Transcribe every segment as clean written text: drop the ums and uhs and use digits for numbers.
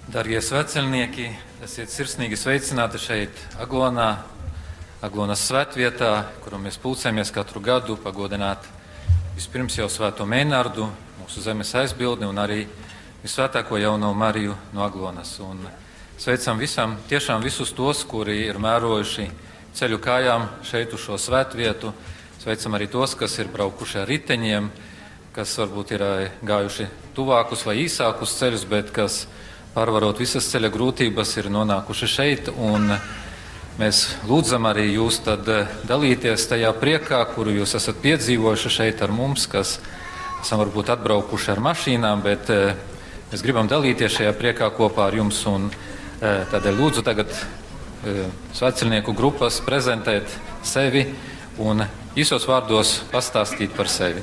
Darbie svētceļnieki, esiet sirsnīgi sveicināti šeit, Aglonā, Aglonas svētvietā, kuru mēs pulcējamies katru gadu pagodināt vispirms jau Svēto Meinardu, mūsu zemes aizbildni, un arī visvētāko jauno Mariju no Aglonas. Un sveicam visam, tiešām visus tos, kuri ir mērojuši ceļu kājām šeit uz šo svētvietu. Sveicam arī tos, kas ir braukuši ar riteņiem, kas varbūt ir gājuši tuvākus vai īsākus ceļus, bet kas pārvarot visas ceļa grūtības, ir nonākuši šeit. Un mēs lūdzam arī jūs tad dalīties tajā priekā, kuru jūs esat piedzīvojuši šeit ar mums, kas esam varbūt atbraukuši ar mašīnām, bet mēs gribam dalīties šajā priekā kopā ar jums. Un tādēļ lūdzu tagad svētceļnieku grupas prezentēt sevi un īsos vārdos pastāstīt par sevi.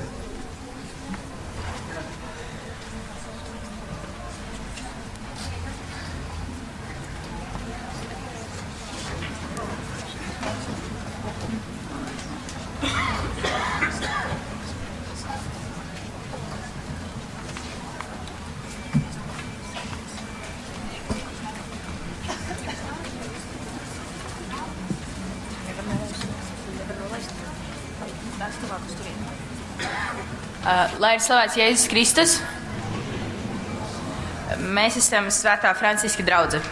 Lai ir slavēts Jēzus Kristus, mēs esam Svētā Franciska draudze.